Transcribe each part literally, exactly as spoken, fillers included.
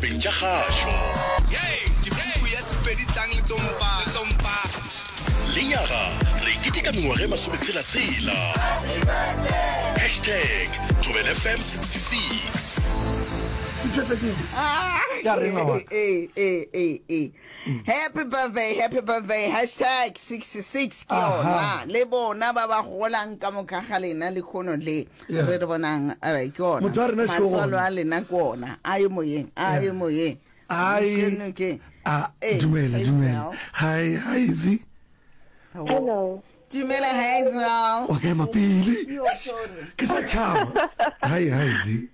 ditabeng tša kgašo. Ke puku ya Sepedi tlang le tlo mpa, le tlo mpa. Lenyaga re keteka mengwaga e masometshela-tshela. Hashtag Thobela F M sixty-six. Ya rena wa ka. Ee, ee, ee, ee. Happy birthday, happy birthday, hashtag sixty-six ke Aha. yona. Le bona ba ba golang ka moka ga lena lekgono le. Yeah. Re re bonang, eh, ke ona. Motho wa rena šo Matswalo gona. a lena ke ona. A ye moyeng, a ye moyeng. Ai. Mošeno ke. A Eh, dumela, Hazel. dumela. Hi, hi Zi. Hello. Dumela Hazel. Wa ka ema pele. Yo, sorry. Ke sa tšhaba. Hi, hi Zi.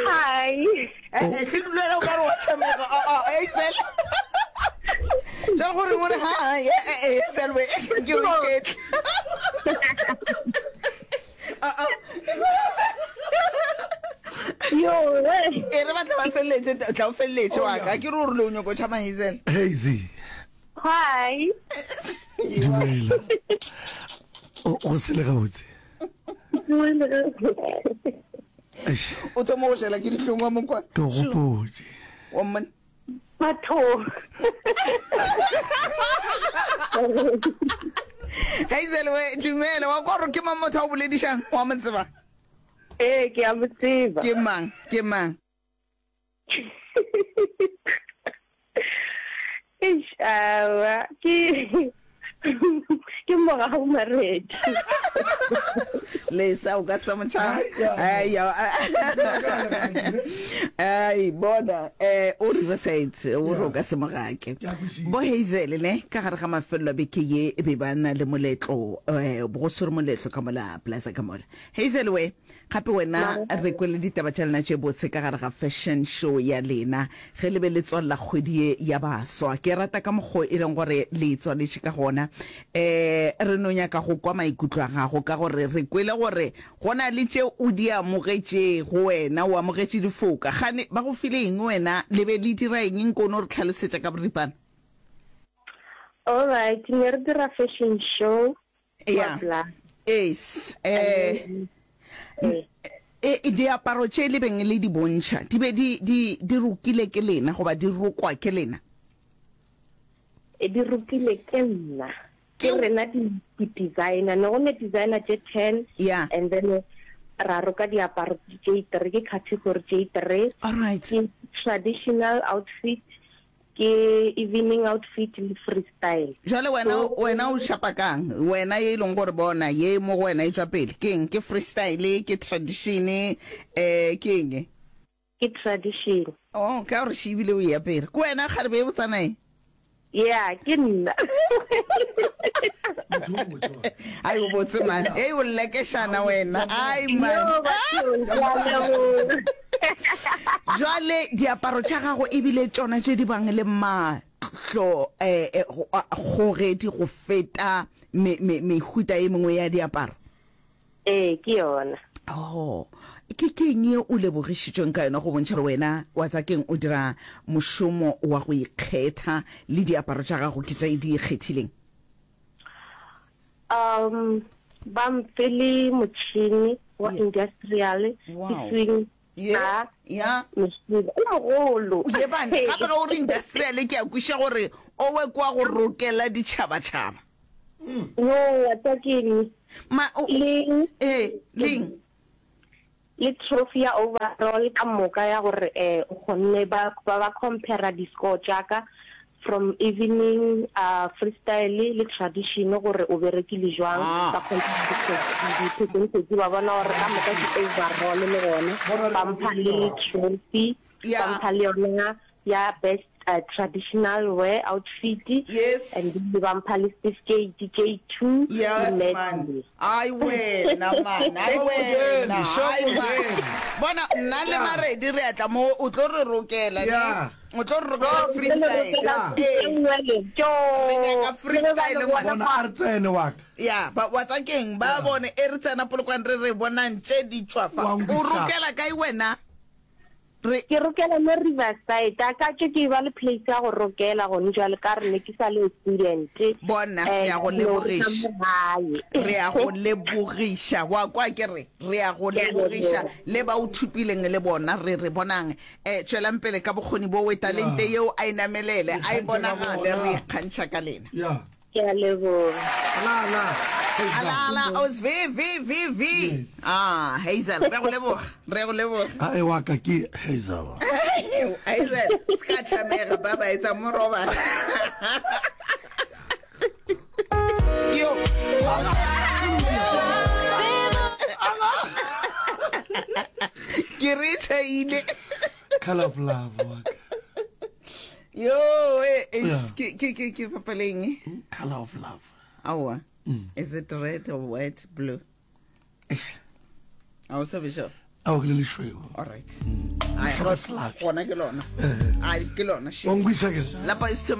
Hi. Eh, eh, hle dula o ka re wa tshameka. Oh, oh, Hazel. Jwale gore o re hi, eh, eh, eh, Hazel we, ke o iketle. Ah, ah. Yo. E re batla ba feleletše, tla o feleletše wa ka. Ke re o rile o nyoko tšhama Hazel. Hey Zi. Hi. Dumela. O o sele gabotse. Eish, O thoma go šela ke dihlong wa mokwa. ke go gopotše. Wa mmona. Batho. Hazel we, dumela. Wa kwa gore ke mang motho a o boledišang? Wa mo tseba? Eh, ke a mo tseba. Ke mang? Ke mang? Eish, awa, ke ke morago Maredi. Lesa o ka sa motšha. Ai, ya. Ai, bona, eh o Riverside, o re o ka se mogake. Ke a kwešiša. Bo Hazel ne ka gare ga mafelelo a beke ye e be ba na le moletlo, eh go swere moletlo ka mola plaza ka mola. Hazel we, gape wena re kwele ditaba tša lena tše botse ka gare ga fashion show ya lena ge le be le tswalela kgwedi ye ya baswa. Ke rata ka mokgo e leng gore le e tswaletše ka gona. Eh re no nyaka go kwa maikutlo a gago ka gore re kwele gore go na le tše o di amogetšego wena, o amogetše difoka. Gane ba go file eng wena, le be le dira eng, nko no re tlhalosetša ka boripana? All right, ne re dira fashion show kwa Ya. Bla. Es, eh e e diaparo tše le beng le di bontšha di be di di di rokile ke lena goba di rokwa ke lena? E di rokile ke nna. Ke Ke rena di di designer. Ne go ne designer tše ten Ya. and then ra roka diaparo tše three, ke category tše three. All right. Ke traditional outfit, ke evening outfit le freestyle. Jwale wena So wena o šapa kang? Wena ye e leng gore bona ye mo go wena e tšwa pele. Ke eng? Ke freestyle, ke tradition, eh ke eng? Ke tradition. Oh, ka gore she ebile o e apere. Ke wena kgarebe e botsana e? Yeah, ke nna. Motho o botse wa. Ai o botse man. Ei o lekeshana wena. Ai man. Yo, bathong, ke a leboga. Jwale diaparo tša gago ebile tšona tše di bang le mahlo eh, eh, go- a- kgogedi go feta me, me, mehuta e mengwe ya diaparo. Eh, ke yona. Oh, ke ke eng ye o lebogišitšweng ka yona go bontšha gore wena wa tsa keng o dira mošomo wa go ikgetha le diaparo tša gago ke tše di ikgethileng? Um, ba mfile motšhini wa Yeah. industrial, ke Wow. swing Ye, ka ya. mešidi o mogolo. Ye bana, gape ge o re industrial ke a kweša gore o we kwa go rokela ditšhabatšhaba. Yo, wa tsa keng? Ma, o, Le eh, leng? le trophy ya overall ka moka ya gore eh o kgonne ba ba ba compare di-score tša ka from evening uh, freestyle le tradition gore o berekile jwang. Ah. Ba compare di-percentage ba bona gore ka moka ke overall le gona Bona re ba mpha le kopile. trophy, ba Ya. mpha le yona ya best uh, traditional wear outfit. Yes. And then ba mpha le certificate J two le Yes man. medal. Ai wena man, ai wena, Sho ai man. modele. Bona nna le Maredi re atla mo o tlo re rokela ne. Yeah. O tlo re rokela Oh, freestyle. Yeah. Ee. Re nyaka freestyle ngwana. Bona a re tsene wa ka. Ya, ba wa tsa keng ba bone e re tsena Polokwane re re bonang tše di tšwa fa. Wa O nkwiša. rokela kae wena? Re Ke rokela mo Riverside, a ka tše ke ba le place ya go rokela gone jwale ka re ne ke sa le student. Bona, Eh, re a go ke no reka lebogiša. mo gae. Re a go lebogiša. Wa kwa ke re, re a go Ke a lebogiša. leboga. Le ba o thupileng le bona, re re bonang. Eh, tšwelang pele ka bokgoni bo we talente Yeah. yeo a e namelele, a e Ikgantšha ka bonagale, bona. re ikgantšha ka lena. Ya. Ke a leboga. Ala ala. Hazel. Ala ala, os V V V V. Yes. Ah, Hazel, re go leboga, re go leboga. A e wa ka ke Hazel. Hazel, ska tšhamega, ba ba etsa mo robala. Yo. Ke re tšhaile. Color of love wa ka. Yo, eh, eh, Yeah. ke ke ke ke papaleng. Color of love. Aowa. Is it red or white, blue? A o sa be sure? Ao ke le lešweu. All right. Ai, Hloka selabi. Gona ke lona. Ai, ke lona. shit. Wa nkwešiša ke? Lapa is too